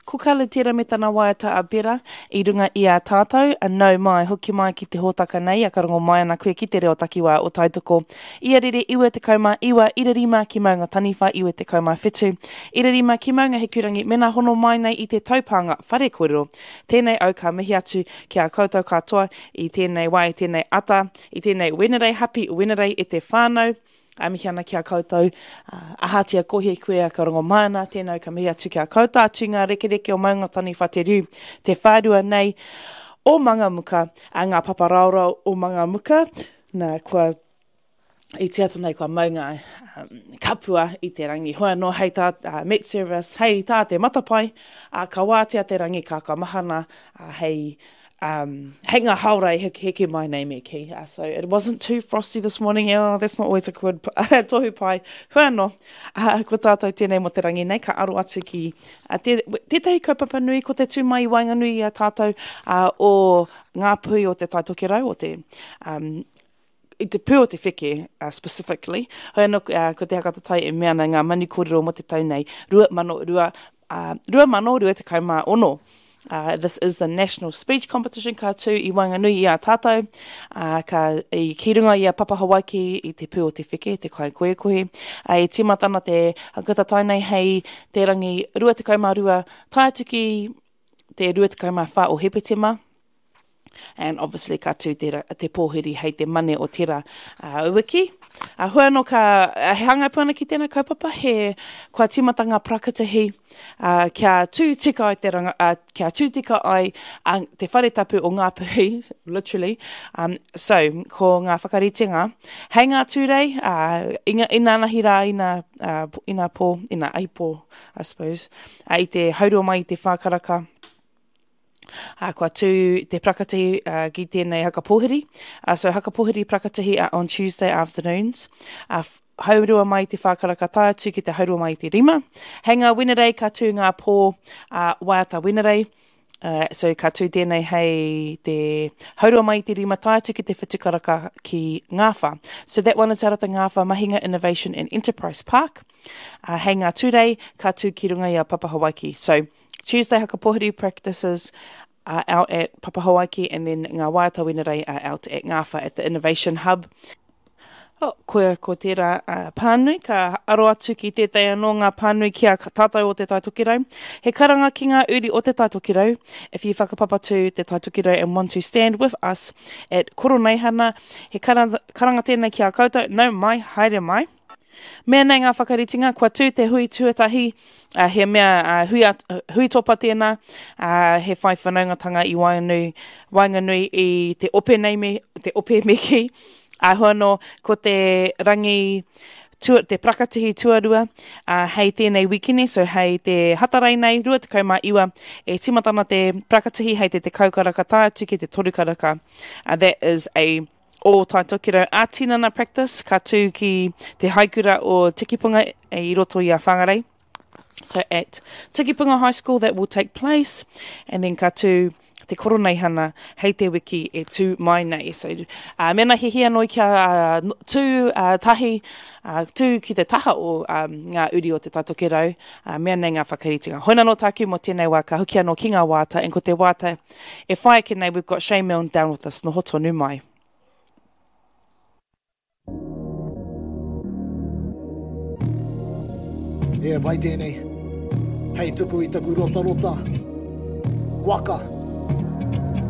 Ko Khalid tērā me tana waiata a Bera i runga i a tātou, a nau mai, hoki mai ki te hōtaka nei, a ka rongo mai ana koe ki te reo takiwā o Taitoko. Ia rere 99 ira rima ki Maunga Taniwha 97 ira rima ki Maunga Hikurangi mena hono mai nei i te taupānga whare kōrero. Tēnei au ka mihi atu ki a koutou katoa i tēnei wā, i tēnei ata, i tēnei Wenerei, happy Wenerei e te whānau. A mihi ana ki a koutou, ahatia kohi koe a ka rongo mai ana, tēnā ka mihi atu ki a koutou atu ngā rekereke o Maungataniwha te riu, te whārua nei o Mangamuka, a ngā papa raorao o Mangamuka, nā, kua i te ata nei kua mau ngā um, kapua i te rangi. Hoi anō hei tā uh, Met Service, hei tā te matapae, uh, ka wātea te rangi ka ka mahana uh, hei um, hei ngā haora e heke, heke mai nei me kī. Uh, so it wasn't too frosty this morning. Oh, that's not always a good tohu pai. Hoi anō, uh, ko tātou tēnei mō te rangi nei, ka aro atu ki uh, te, tētahi kaupapa nui, ko te tū mai i waenganui i a tātou uh, o ngā pui o te Tai Tokerau, o te um, i te pū o te wheke uh, specifically. Hoi anō, uh, ko te hakatatai e mea ana ngā manu kōrero mō te tau nei, 2002, uh, 2026. Uh, this is the National Speech Competition ka tū i waenganui i a tātou, uh, ka, i ki runga i a Papa Hawaiki i te pū o te wheke, te kai koekohe. Uh, e tīmata ana te hakatatai nei hei te rangi 22 tae atu ki te 24 o Hepetema. And obviously ka tū te, te pōhiri hei te mane o tera uh, wiki. Uh, hoi anō ka, uh, he hāngai pū ana ki tēnā kaupapa, he kua tīmata ngā parakatihi uh, kia tū tika ai te ranga, uh, kia tū tika ai uh, te whare tapu o Ngāpuhi, literally. Um, so, ko ngā whakaritenga, hei ngā tūrei, uh, ina, inanahi rā, ina, uh, ina pō, ina aipō, I suppose, uh, i te haurua mai i te whākaraka, Ā, kua tū te parakatihi uh, ki tēnei haka pōhiri. Uh, so haka pōhiri parakatihi uh, on Tuesday afternoons. Uh, haurua mai te whākaraka tae atu ki te haurua mai te rima. Hei ngā Wenerei ka tū ngā pō uh, waiata Wenerei. Uh, so ka tū tēnei hei te haurua mai te rima tae atu ki te whitu karaka ki Ngāwhā. So that one is out at the Ngāwhā Mahinga Innovation and Enterprise Park. Uh, hei ngā Tūrei ka tū ki runga i a Papa Hawaiki. So Tuesday Hakapohiri practices are out at Papa Hawaiki and then ngā waiata Wenerei are out at Ngāwha at the Innovation Hub. Oh, koia ko tērā uh, pānui, ka aro atu ki tētahi anō ngā pānui ki a tātou o Te Tai Tokerau. He karanga ki ngā uri o Te Tai Tokerau, if you whakapapa to Te Tai Tokerau and want to stand with us at Koroneihana, he karanga, karanga tēnei ki a koutou, nau mai, haere mai. Mea nei ngā whakaritenga, kua tū te hui tuatahi, uh, he mea uh, hui, at, hui topa tēnā, uh, he whai whanaungatanga i waenganui, waenganui i te ope nei me, te ope me kī. Āhua anō, ko te rangi, tua, te parakatihi tuarua, uh, hei tēnei wikini, so hei te Hatarei nei, 29, e tīmata ana te parakatihi hei te 10 karaka tae atu ki te 3 karaka. Uh, that is a o Tai Tokerau ā-tinana practice, ka tū ki te haikura o Tikipunga i roto i a Whangarei. So at Tikipunga High School that will take place and then ka tū te koroneihana hei te wiki e tū mai nei. So, uh, mena hihia noi kia uh, tū uh, tahi, uh, tū ki te taha o um, ngā uri o te Tai Tokerau, uh, mea nei ngā whakaritenga. Hoi nano tāku mō tēnei wā, ka hoki anō ki ngā wāta, and ko te wāta E whai ake nei, we've got Shane Milne down with us, noho tonu mai. E pai tēnei. Hei tuku i taku rotarota. Waka.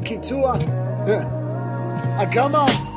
Ki tua. A come on.